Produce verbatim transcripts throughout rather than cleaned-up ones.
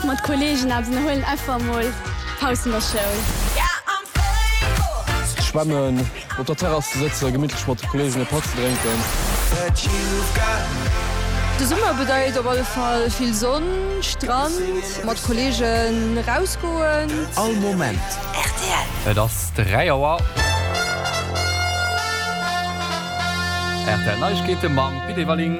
Mat Kollegen eppes ënnerhuelen, einfach mol Paus an der Schoul. Schwämmen, op der Terrass ze sëtzen, gemittlech mat de Kollegen e Patt ze drénken. De Summer bedeit op alle Fall vill Sonn, Strand, mat Kollegen rausgoen. All Moment rtl. Et ass dräi Auer. Rtl Neiegkeete mam Pit Everling.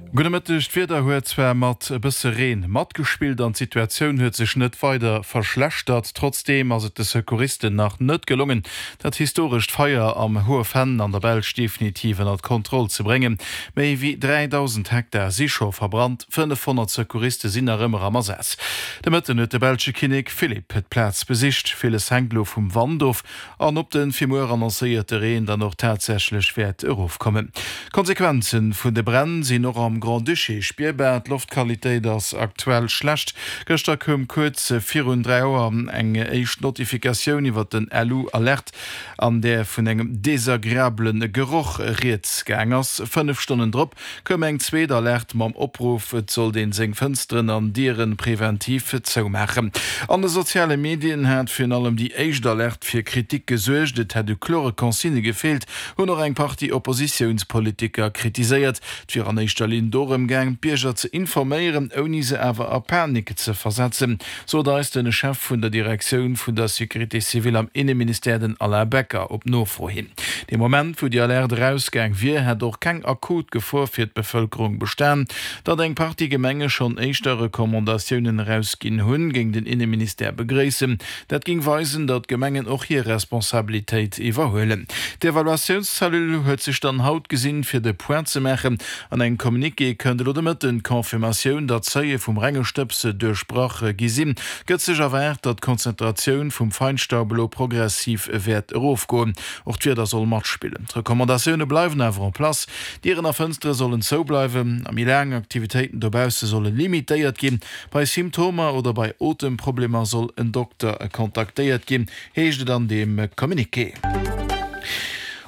Gudde Mëtteg, D'Wieder huet zwar mat e bësse Reen matgespillt an d'Situatioun huet sech net weider verschlechtert. Trotzdeem ass et de Secouristen nach net gelongen, dat historescht Feier am Hohe Venn an der Belsch definitiv ënnert Kontroll ze bréngen. Méi wéi dräidausend Hektar si scho verbrannt, fënnefhonnert Secouriste sinn nach ëmmer am Asaz. De Mëtten huet de belsche Kinnek Philippe d'Plaz besicht. Villes hänkt elo vum Wand of an ob de fir muer annoncéierte Reen dann och tatsächlech wäert erofkommen. D'Konsequenze vun de Bränn sinn och am Grand-Duché spierbar. D'Loftqualitéit ass aktuell schlecht. Gëschter koum kuerz virun dräi Auer eng éischt Notifikatioun iwwer den L U-Alert, an där vun engem desagreabele Geroch rieds gaang ass. Fënnef Stonnen drop koum eng zweet Alerte mam Opruff, et sollt een seng Fënsteren an Diere preventiv zoumaachen. An de soziale Medien hat virun allem déi éischt Alerte fir Kritik gesuergt. Et hätt u klore Consignë gefeelt, hunn och eng Partie Oppositiounspolitiker kritiséiert. Et wier an éischter Linn dorëm gaang, d'Bierger ze informéieren, ouni se awer a Panik ze versetzen, sot eis de Chef vun der Direktioun vun der Sécurité civile am Inneministère, den Alain Becker, op Nofro hin. Dee Moment, wou déi Alerte erausgaang wier, hätt och keng akut Gefor fir d'Bevëlkerung bestan. Datt eng Partie Gemenge schonn éischter Recommandatiounen erausginn hunn, géing den Inneministère begréissen. Dat géing weisen, datt d'Gemengen och hir Responsabilitéit iwwerhuelen. D'Evaluatiounscellule huet sech dann haut gesinn, fir de Point ze maachen. An engem Communiqué kënnt elo de Mëtten d'Confirmatioun, datt d'Seuile vum renge Stëbs duerchbrach gi sinn. Gëtt sech erwaart, datt d'Konzentratioun vum Feinstaub elo progressiv wäert erofgoen. Och d'Wieder soll matspillen. D'Recommandatioune bleiwen awer en place, Dieren a Fënstere sollen zoubleiwen a méi laang Aktivitéiten dobausse solle limitéiert ginn. Bei Symptomer oder bei Otemproblemer soll en Dokter kontaktéiert ginn, heescht et an deem Communiqué.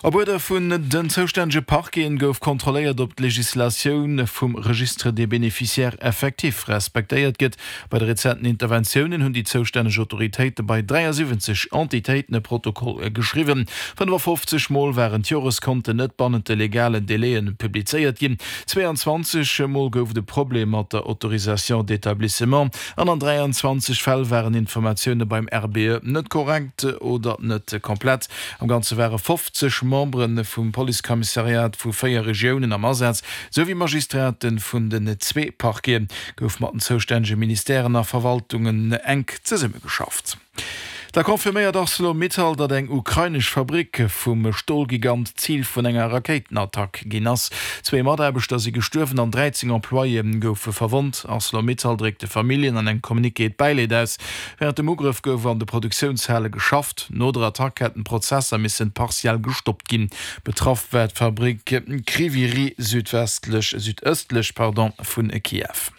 Op Uerder vun den zoustännege Parqueten gouf kontrolléiert, ob d'Legislatioun vum Registre des bénéficiaires effectifs respektéiert gëtt. Bei de rezenten Interventiounen hunn déi zoustänneg Autoritéite bei dräiasiwwenzeg Entitéiten e Protokoll geschriwwen. fënnefafofzeg Mol waren d'Joreskonten net bannent de legalen Délaië publizéiert ginn, zweeanzwanzeg Mol gouf et e Problem mat der Autorisation d'établissement an an dräianzwanzeg Fäll waren Informatioune beim R B E net korrekt oder net komplett. Am Ganze ware fofzeg Membere vum Policekommissariat vu véier Regiounen am Asaz, sou wéi Magistrate vun den zwee Parquete. Gouf mat den zoustännege Ministèren a Verwaltungen enk zesummegeschafft. Da confirméiert Arcelor-Mittal, datt eng ukrainesch Fabrick vum Stolgigant Zil vun enger Rakéitenattack ginn ass. Zwee Mataarbechter si gestuerwen an dräizéng Employéë goufe verwonnt. Arcelor-Mittal dréckt de Familljen an engem Communiqué d'Bäileed aus. Wärend dem Ugrëff gouf an de Produktiounshale geschafft. No der Attack hätten d'Prozesser missen partiell gestoppt ginn. Betraff war d'Fabrick Kryvyi Rih südwestlech, südëstlech, pardon, vun Kiew.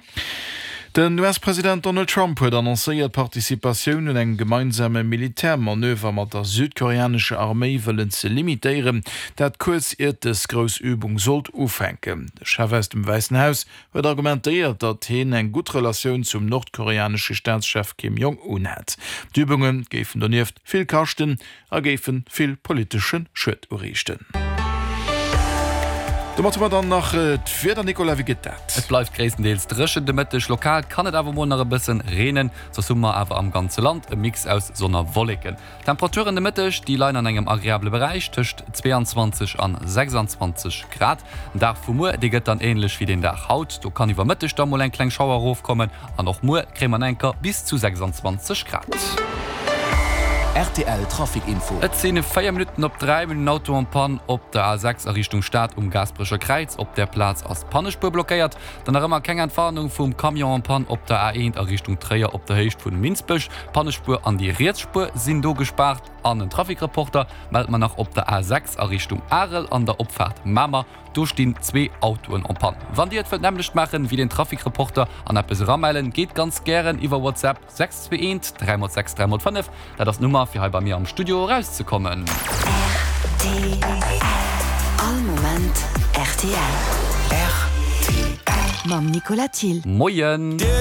Den U S-President Donald Trump huet annoncéiert, d'Participatioun un engem gemeinsame Militärmanöver mat der südkoreanescher Arméi wëllen ze limitéieren, dat kuerz iert dës grouss Übung sollt ufänken. De Chef aus dem Wäissen Haus huet argumentéiert, datt hien eng gutt Relatioun zum nordkoreanesche Staatschef Kim Jong-un hätt. D'Übunge géifen donieft vill kaschten a géife vill politesche Schued uriichten. Domat hu mer dann nach d'Wieder, Nicolas, wéi gëtt dat? Et bleift gréisstendeels dréchen de Mëtteg, lokal kann et awer mol nach e bëssen reenen, soss hu mer awer am ganze Land e Mix aus Sonn a Wolleken. D'Temperaturen de Mëtteg, déi leien an engem agreabele Beräich tëscht zweeanzwanzeg an sechsanzwanzeg Grad. Den Dag vu muer, dee gëtt dann änlech wéi den Dag haut, do kann iwwer Mëtteg da mol eng kleng Schauer erofkommen an och muer kréie mer nach enker bis zu sechsanzwanzeg Grad. R T L Trafic Info. Et sinn véier Minutten op dräi. Mir hunn en Auto en panne op der A sechs a Richtung Stad um Gaasperecher Kräiz. Op där Plaz ass d'Pannespuer blockéiert. Dann nach ëmmer keng Entwarnung vum Camion en panne op der A eent a Richtung Tréier op der Héicht vun Minsbech. D'Pannespuer an déi riets Spuer sinn do gespaart. An en Trafic-Reporter mellt mer nach op der A sechs a Richtung Arel an der Opfaart Mamer. Do stinn zwee Autoen en panne. Wann Dir et wëllt nämmlecht maachen wéi den Trafic-Reporter an eppes eramellen, geet ganz gären iwwer WhatsApp sechs zwee eent dräi mol sechs dräi mol fënnef. Dat ass d'Nummer fir hei bei mir am Studio erauszekommen. R T L All Moment R T L. R T L. Mam Nicolas Thill. Moien.